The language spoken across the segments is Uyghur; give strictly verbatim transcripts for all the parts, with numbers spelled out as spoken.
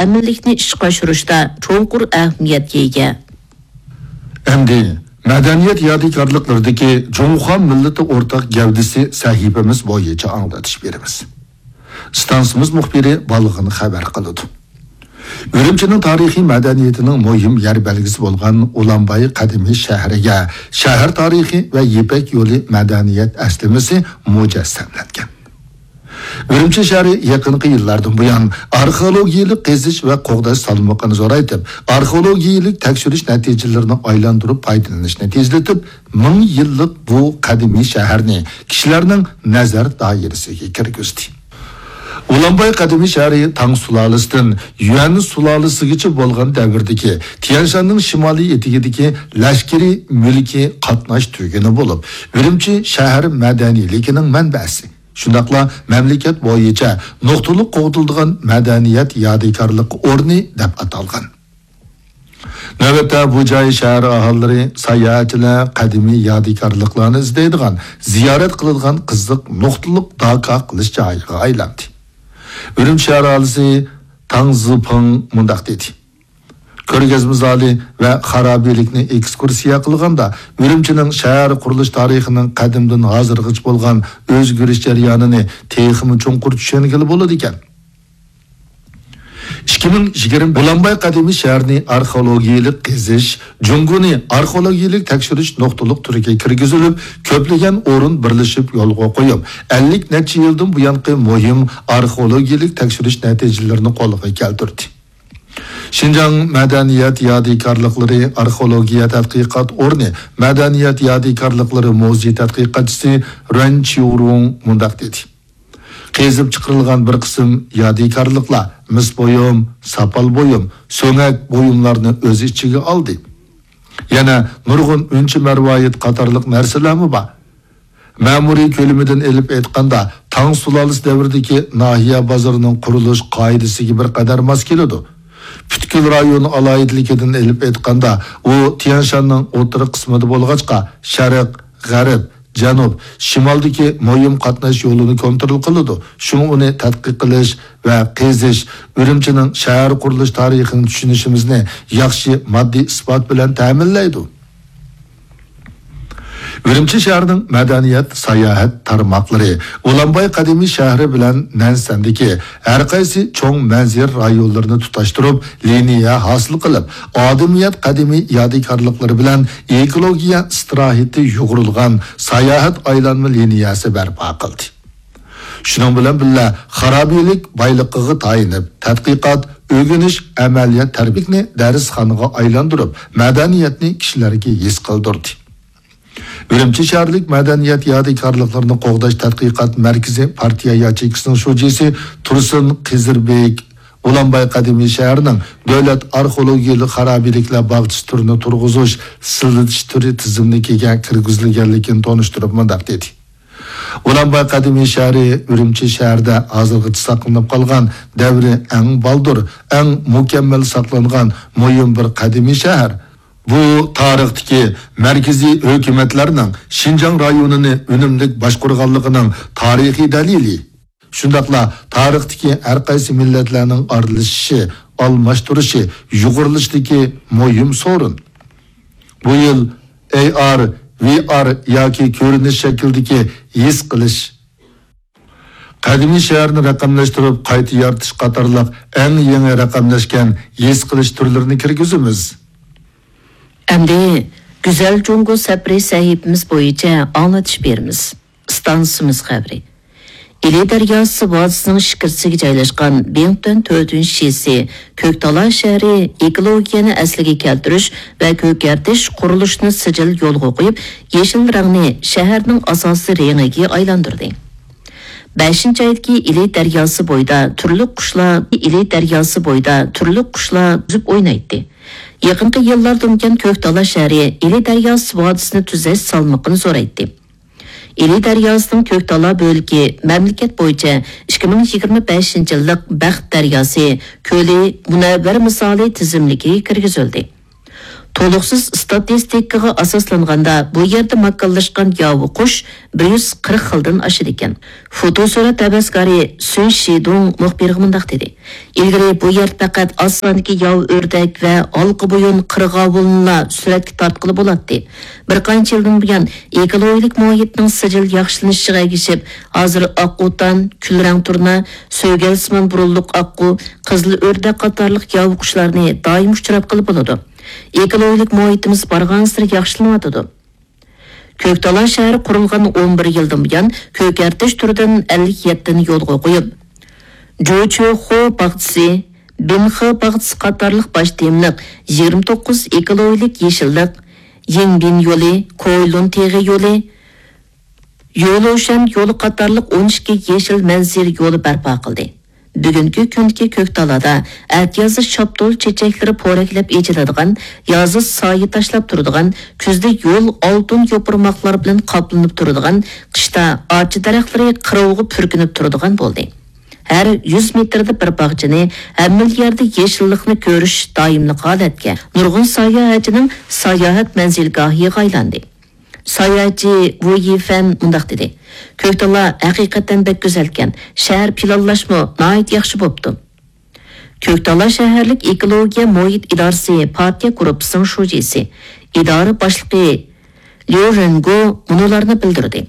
ئەمىنلىكنى ئىشقا ئاشۇرۇشتا چوڭقۇر ئەھمىيەتكە ئىگە. ئەمدى مەدەنىيەت يادىكارلىقلىرىدىكى جۇڭخۇا مىللىتى ئورتاق گەۋدىسى سەھىپىمىز بويىچە ئاڭلىتىش بېرىمىز. ئىستانسىمىز مۇخبىرى بالغىن خەۋەر قىلىدۇ. ئۈرۈمچىنىڭ تارىخىي مەدەنىيىتىنىڭ مۇھىم يەر بەلگىسى بولغان ئۇلانباي قەدىمىي شەھىرىگە شەھەر تارىخى ۋە يىپەك يولى مەدەنىيەت ئەسلىمىسى مۇجەسسەملەنگەن. ئۈرۈمچى شەھىرى يېقىنقى يىللاردىن بۇيان ئارخېئولوگىيەلىك قېزىش ۋە قوغداش سالمىقىنى زورايتىپ، ئارخېئولوگىيەلىك تەكشۈرۈش نەتىجىلىرىنى ئايلاندۇرۇپ پايدىلىنىشنى تېزلىتىپ، مىڭ يىللىق بۇ قەدىمىي شەھەرنى كىشىلەرنىڭ نەزەر دائىرىسىگە كىرگۈزدى. ئۇلانباي قەدىمىي شەھىرى تاڭ سۇلالىسىدىن يۈەن سۇلالىسىگىچە بولغان دەۋردىكى تيەنشاننىڭ شىمالىي ئېتىكىدىكى لەشكىرىي مۈلكىي قاتناش تۈگۈنى بولۇپ، ئۈرۈمچى شەھەر مەدەنىيلىكىنىڭ مەنبەسى، شۇنداقلا مەملىكەت بويىچە نۇقتىلىق قوغدىلىدىغان مەدەنىيەت يادىكارلىق ئورنى دەپ ئاتالغان. نۆۋەتتە بۇ جاي شەھەر ئاھالىلىرى، ساياھەتچىلەر قەدىمىي يادىكارلىقلارنى ئىزدەيدىغان، زىيارەت قىلىدىغان قىزىق نۇقتىلىق داكا قىلىش جايىغا ئايلاندى. ئۈرۈمچى شەھەر ئاھالىسى تاڭ زىپىڭ مۇنداق دېدى: كۆرگەزمە زالى ۋە خارابىلىكنى ئېكسكۇرسىيە قىلغاندا، ئۈرۈمچىنىڭ شەھەر قۇرۇلۇش تارىخىنىڭ قەدىمدىن ھازىرغىچە بولغان ئۆزگىرىش جەريانىنى تېخىمۇ چوڭقۇر چۈشەنگىلى بولىدىكەن. ئىككى مىڭ يىگىرمە ئۇلانباي قەدىمىي شەھىرىنى ئارخېئولوگىيەلىك قېزىش، جۇڭگونى ئارخېئولوگىيەلىك تەكشۈرۈش نۇقتىلىق تۈرىگە كىرگۈزۈلۈپ، كۆپلىگەن ئورۇن بىرلىشىپ يولغا قويۇپ، ئەللىك نەچچە يىلدىن بۇيانقى مۇھىم ئارخېئولوگىيەلىك تەكشۈرۈش نەتىجىلىرىنى قولغا كەلتۈردى. شىنجاڭ مەدەنىيەت يادىكارلىقلىرى ئارخېئولوگىيە تەتقىقات ئورنى مەدەنىيەت يادىكارلىقلىرى مۇزېي تەتقىقاتچىسى رۇەن چيۇرۇڭ مۇنداق دېدى: قېزىپ چىقىرىلغان بىر قىسىم يادىكارلىقلار، مىس بۇيۇم، ساپال بۇيۇم، سۆڭەك بۇيۇملارنى ئۆز ئىچىگە ئالدى. يەنە نۇرغۇن ئۈنچە مەرۋايىت قاتارلىق نەرسىلەرمۇ بار. مەمۇرىي كۆلىمىدىن ئېلىپ ئېيتقاندا، تاڭ سۇلالىسى دەۋرىدىكى ناھىيە بازىرىنىڭ قۇرۇلۇش قائىدىسىگە بىر قەدەر ماس كېلىدۇ. پۈتكۈل رايون ئالاھىدىلىكىدىن ئېلىپ ئېيتقاندا، ئۇ تيەنشاننىڭ ئوتتۇرا قىسمىدا بولغاچقا، شەرق، غەرب، جەنۇب، شىمالدىكى مۇھىم قاتناش يولىنى كونترول قىلىدۇ. شۇڭا ئۇنى تەتقىق قىلىش ۋە قېزىش ئۈرۈمچىنىڭ شەھەر قۇرۇلۇش تارىخىنى چۈشىنىشىمىزنى ياخشى ماددىي ئىسپات بىلەن تەمىنلەيدۇ. ئۈرۈمچى شەھىرىنىڭ مەدەنىيەت، ساياھەت تارماقلىرى ئۇلانباي قەدىمىي شەھىرى بىلەن نەنسەندىكى ھەر قايسى چوڭ مەنزىرە رايونلىرىنى تۇتاشتۇرۇپ، لىنىيە ھاسىل قىلىپ، ئادىمىيەت قەدىمىي يادىكارلىقلىرى بىلەن ئېكولوگىيە ئىستىراھىتى يۇغۇرۇلغان ساياھەت ئايلانما لىنىيەسى بەرپا قىلدى. شۇنىڭ بىلەن بىللە، خارابىلىك بايلىقىغا تايىنىپ، تەتقىقات، ئۆگىنىش، ئەمەلىيەت تەربىيەلىكنى دەرسخانىغا ئايلاندۇرۇپ، مەدەنىيەتنى كىشىلەرگە ھېس قىلدۇردى. ئۈرۈمچى شەھەرلىك مەدەنىيەت يادىكارلىقلىرىنى قوغداش تەتقىقات مەركىزى پارتىيە ياچېيكىسىنىڭ شۇجىسى تۇرسۇن قىزىربېك ئۇلانباي قەدىمىي شەھىرىنىڭ دۆلەت ئارخېئولوگىيەلىك خارابىلىكلەر باغچىسى تۈرىنى تۇرغۇزۇش، سىلىتىش تۈرى تىزىملىكىگە كىرگۈزۈلگەنلىكىنى تونۇشتۇرۇپ مۇنداق دېدى: ئۇلانباي قەدىمىي شەھىرى ئۈرۈمچى شەھىرىدە ھازىرغىچە ساقلىنىپ قالغان دەۋرى ئەڭ بالدۇر، ئەڭ مۇكەممەل ساقلانغان مۇھىم بىر قەدىمىي شەھەر. بۇ تارىختىكى مەركىزىي ھۆكۈمەتلەرنىڭ شىنجاڭ رايونىنى ئۈنۈملۈك باشقۇرغانلىقىنىڭ تارىخىي دەلىلى. شۇنداقلا تارىختىكى ھەر قايسى مىللەتلەرنىڭ ئارىلىشىشى، ئالماشتۇرۇشى، يۇغۇرۇلۇشىدىكى مۇھىم سورۇن. بۇ يىل ئەي ئار، ۋى ئار ياكى كۆرۈنۈش شەكلىدىكى ھېس قىلىش، قەدىمىي شەھەرنى رەقەملەشتۈرۈپ قايتا يارىتىش قاتارلىق ئەڭ يېڭى رەقەملەشكەن ھېس قىلىش تۈرلىرىنى كىرگۈزىمىز. ئەمدى گۈزەل جۇڭگو سەپىرى سەھىپىمىز بويىچە ئاڭلىتىش بېرىمىز. ئىستانسىمىز خەۋىرى. ئىلى دەرياسى ۋادىسىنىڭ ئىچكىرىسىگە جايلاشقان بىڭتۈەن تۆتىنچى شىسى، كۆكتالا شەھىرى ئېكولوگىيەنى ئەسلىگە كەلتۈرۈش ۋە كۆكەرتىش قۇرۇلۇشىنى سىجىل يولغا قويۇپ، يېشىل رەڭنى شەھەرنىڭ ئاساسىي رېڭىگە ئايلاندۇردى. بەشىنچى ئايدىكى ئىلى دەرياسى بويىدا تۈرلۈك قۇشلار، ئىلى دەرياسى بويىدا تۈرلۈك قۇشلار ئۈزۈپ ئوينايتتى. يېقىنقى يىللاردىن بۇيان كۆكتالا شەھىرى ئىلى دەرياسى ۋادىسىنى تۈزەش سالمىقىنى زورايتتى. ئىلى دەرياسىنىڭ كۆكتالا بۆلىكى مەملىكەت بويىچە ئىككى مىڭ يىگىرمە بەشىنچى يىللىق بەخت دەرياسى كۆلى مۇنەۋۋەر مىسالى تىزىملىكىگە كىرگۈزۈلدى. تولۇقسىز ئىستاتىستىكىغا ئاساسلانغاندا، بۇ يەردە ماكانلاشقان ياۋا قۇش بىر يۈز قىرىق خىلدىن ئاشىدىكەن. فوتوسۈرەت ھەۋەسكارى سۈن شىدۇڭ مۇخبىرغا مۇنداق دېدى: «ئىلگىرى بۇ يەردە پەقەت ئاز ساندىكى ياۋا ئۆردەك ۋە ھالقا بويۇن قىرغاۋۇلنىلا سۈرەتكە تارتقىلى بولاتتى. بىر قانچە يىلدىن بۇيان ئېكولوگىيەلىك مۇھىتنىڭ سىجىل ياخشىلىنىشىغا ئەگىشىپ، ھازىر ئاققۇتان، كۈلرەڭ تۇرنا، سۆگەلسىمان بۇرۇنلۇق ئاققۇ، قىزىل ئۆردەك قاتارلىق ياۋا قۇشلارنى دائىم ئۇچراتقىلى بولىدۇ. ئېكولوگىيەلىك مۇھىتىمىز بارغانسېرى ياخشىلىنىۋاتىدۇ.» كۆكتالا شەھىرى قۇرۇلغان ئون بىر يىلدىن بۇيان كۆكەرتىش تۈرىدىن ئەللىك يەتتىنى يولغا قويۇپ، جۇچۆخۇ باغچىسى، بىنخې باغچىسى قاتارلىق باش تېمىلىق يىگىرمە توققۇز ئېكولوگىيەلىك يېشىللىق، يىڭبىن يولى، كويلۇن تېغى يولى، يولۇشەن يولى قاتارلىق ئون ئىككى يېشىل مەنزىرە يولى بەرپا قىلدى. بۈگۈنكى كۈندىكى كۆكتالادا ئەتىيازدا شاپتۇل چېچەكلىرى پورەكلەپ ئېچىلىدىغان، يازدا سايە تاشلاپ تۇرىدىغان، كۈزدە يول ئالتۇن يوپۇرماقلار بىلەن قاپلىنىپ تۇرىدىغان، قىشتا ئارچا دەرەخلىرى قىروۋىغا پۈركىنىپ تۇرىدىغان بولدى. ھەر يۈز مېتىردا بىر باغچىنى، ھەممىلا يەردە يېشىللىقنى كۆرۈش دائىملىق ھالەتكە، نۇرغۇن ساياھەتچىنىڭ ساياھەت مەنزىلگاھىغا ئايلاندى. ساياھەتچى ۋۇ يىفەن مۇنداق دېدى: «كۆكتالا ھەقىقەتەن بەك گۈزەلكەن، شەھەر پىلانلاشمۇ ناھايىتى ياخشى بوپتۇ.» كۆكتالا شەھەرلىك ئېكولوگىيە مۇھىت ئىدارىسى پارتىيە گۇرۇپپىسىنىڭ شۇجىسى، ئىدارە باشلىقى ليۇ رېنگو مۇنۇلارنى بىلدۈردى: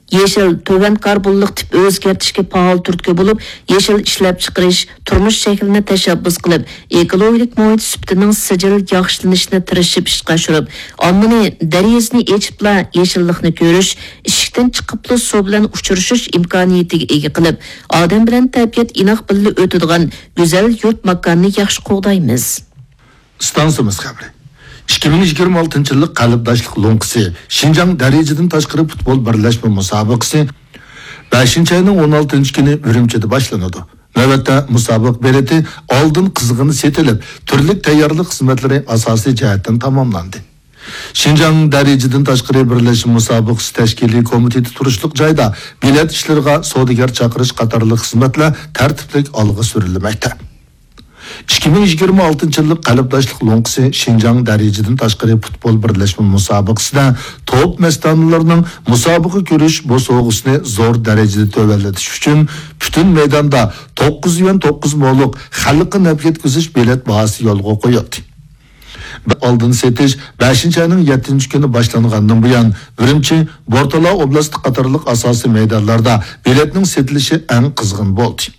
«يېشىل تۆۋەن كاربونلۇق تىپ ئۆزگەرتىشكە پائال تۈرتكە بولۇپ، يېشىل ئىشلەپچىقىرىش، تۇرمۇش شەكلىنى تەشەببۇس قىلىپ، ئېكولوگىيەلىك مۇھىت سۈپىتىنىڭ سىجىل ياخشىلىنىشىنى تىرىشىپ ئىشقا ئاشۇرۇپ، ئاممىنى دېرىزىنى ئېچىپلا يېشىللىقنى كۆرۈش، ئىشىكتىن چىقىپلا سۇ بىلەن ئۇچرىشىش ئىمكانىيىتىگە ئىگە قىلىپ، ئادەم بىلەن تەبىئەت ئىناق بىللە ئۆتىدىغان گۈزەل يۇرت ماكاننى ياخشى قوغدايمىز.» ئىستانسىمىز خەۋىرى. ئىككى مىڭ يىگىرمە ئالتىنچى يىللىق قەلبداشلىق لوڭقىسى شىنجاڭ دەرىجىدىن تاشقىرى پۇتبول بىرلەشمە مۇسابىقىسى بەشىنچى ئاينىڭ ئون ئالتىنچى كۈنى ئۈرۈمچىدە باشلىنىدۇ. نۆۋەتتە مۇسابىقە بېلىتى ئالدىن قىزغىن سېتىلىپ، تۈرلۈك تەييارلىق خىزمەتلىرى ئاساسىي جەھەتتىن تاماملاندى. شىنجاڭ دەرىجىدىن تاشقىرى بىرلەشمە مۇسابىقىسى تەشكىلىي كومىتېتى تۇرۇشلۇق جايدا بېلەت ئىشلىرىغا سودىگەر چاقىرىش قاتارلىق خىزمەتلەر تەرتىپلىك ئالغا سۈرۈلمەكتە. ئىككى مىڭ يىگىرمە ئالتىنچى يىللىق قەلبداشلىق لوڭقىسى شىنجاڭ دەرىجىدىن تاشقىرى پۇتبول بىرلەشمە مۇسابىقىسىدە توپ مەستانىلىرىنىڭ مۇسابىقە كۆرۈش بوسۇغىسىنى زور دەرىجىدە تۆۋەنلىتىش ئۈچۈن پۈتۈن مەيداندا توققۇز يۈەن توققۇز مولۇق خەلققە نەپ يەتكۈزۈش بېلەت باھاسى يولغا قويۇلدى. ئالدىن سېتىش بەشىنچى ئاينىڭ يەتتىنچى كۈنى باشلانغاندىن بۇيان، ئۈرۈمچى، بورتالا ئوبلاستى قاتارلىق ئاساسىي مەيدانلاردا بېلەتنىڭ سېتىلىشى ئەڭ قىزغىن بولدى.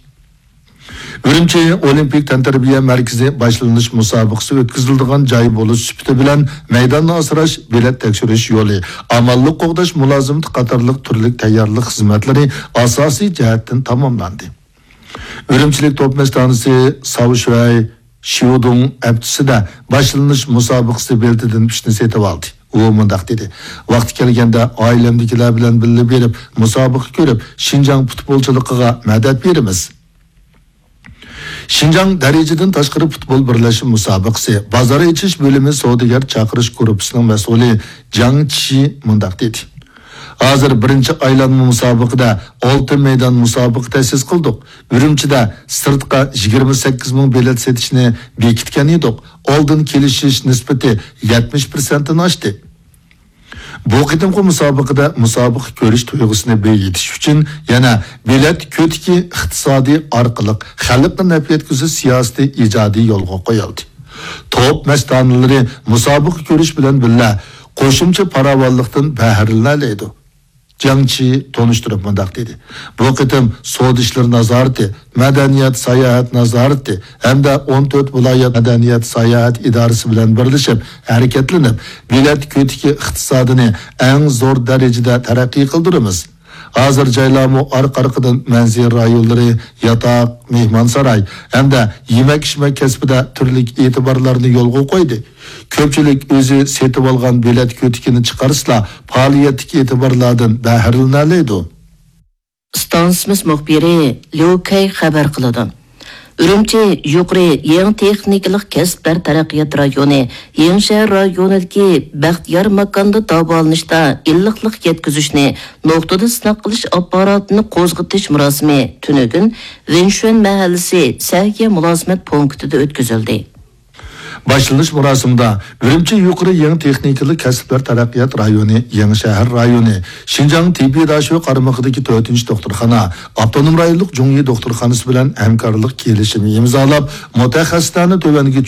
ئۈرۈمچى ئولىمپىك تەنتەربىيە مەركىزى باشلىنىش مۇسابىقىسى ئۆتكۈزۈلىدىغان جاي بولۇش سۈپىتى بىلەن مەيداننى ئاسراش، بېلەت تەكشۈرۈش يولى، ئامانلىق قوغداش مۇلازىمىتى قاتارلىق تۈرلۈك تەييارلىق خىزمەتلىرى ئاساسىي جەھەتتىن تاماملاندى. ئۈرۈمچىلىك توپ مەستانىسى ساۋ شۈەي شيۇدۇڭ ھەپتىسىدە باشلىنىش مۇسابىقىسى بېلىتىدىن ئۈچنى سېتىۋالدى. ئۇ مۇنداق دېدى: «ۋاقتى كەلگەندە ئائىلەمدىكىلەر بىلەن بىللە بېرىپ، مۇسابىقە كۆرۈپ، شىنجاڭ پۇتبولچىلىقىغا مەدەت بېرىمىز.» شىنجاڭ دەرىجىدىن تاشقىرى پۇتبول بىرلەشمە مۇسابىقىسى بازار ئېچىش بۆلۈمى سودىگەر چاقىرىش گۇرۇپپىسىنىڭ مەسئۇلى جاڭ چى مۇنداق دېدى: «ھازىر بىرىنچى ئايلانما مۇسابىقىدە ئالتە مەيدان مۇسابىقە تەسىس قىلدۇق. ئۈرۈمچىدە سىرتقا يىگىرمە سەككىز مىڭ بېلەت سېتىشنى بېكىتكەن ئىدۇق. ئالدىن كېلىشىش نىسبىتى يەتمىش پىرسەنتتىن ئاشتى. بۇ قېتىمقى مۇسابىقىدە مۇسابىقە كۆرۈش تۇيغۇسىنى بېيىتىش ئۈچۈن يەنە بېلەت كۆتىكى ئىقتىسادى ئارقىلىق خەلققە نەپ يەتكۈزۈش سىياسىتى ئىجادىي يولغا قويۇلدى. توپ مەستانىلىرى مۇسابىقە كۆرۈش بىلەن بىللە قوشۇمچە پاراۋانلىقتىن بەھرىلىنەلەيدۇ.» جاڭ چى تونۇشتۇرۇپ مۇنداق دېدى: «بۇ قېتىم سودا ئىشلىرى نازارىتى، مەدەنىيەت، ساياھەت نازارىتى ھەمدە ئون تۆت ۋىلايەت مەدەنىيەت، ساياھەت ئىدارىسى بىلەن بىرلىشىپ ھەرىكەتلىنىپ، بېلەت كۆتىكى ئىقتىسادىنى ئەڭ زور دەرىجىدە تەرەققىي قىلدۇرىمىز. ھازىر جايلارمۇ ئارقا-ئارقىدىن مەنزىرە رايونلىرى، ياتاق، مېھمانساراي ھەمدە يېمەك-ئىچمەك كەسپىدە تۈرلۈك ئېتىبارلارنى يولغا قويدى. كۆپچىلىك ئۆزى سېتىۋالغان بېلەت كۆتىكىنى چىقارسىلا، پائالىيەتتىكى ئېتىبارلاردىن بەھرىلىنەلەيدۇ.» ئىستانسىمىز مۇخبىرى ليۇ كەي خەۋەر قىلىدۇ. ئۈرۈمچى يۇقىرى يېڭى تېخنىكىلىق كەسىپلەر تەرەققىيات رايونى يېڭىشەھەر رايونىدىكى بەختىيار ماكاندا داۋالىنىشتا ئىللىقلىق يەتكۈزۈشنى نۇقتىدا سىناق قىلىش ئاپپاراتىنى قوزغىتىش مۇراسىمى تۈنۈگۈن ۋېنشۈەن مەھەللىسى سەھىيە مۇلازىمەت پونكىتىدا ئۆتكۈزۈلدى. باشلىنىش مۇراسىمىدا ئۈرۈمچى يۇقىرى يېڭى تېخنىكىلىق كەسىپلەر تەرەققىيات رايونى، يېڭى شەھەر رايونى، شىنجاڭ تېببىي داشۆ قارمىقىدىكى تۆتىنچى دوختۇرخانا، ئاپتونوم رايونلۇق جۇڭيى دوختۇرخانىسى بىلەن ھەمكارلىق كېلىشىمى ئىمزالاپ، مۇتەخەسسىسلەرنى تۆۋەنگە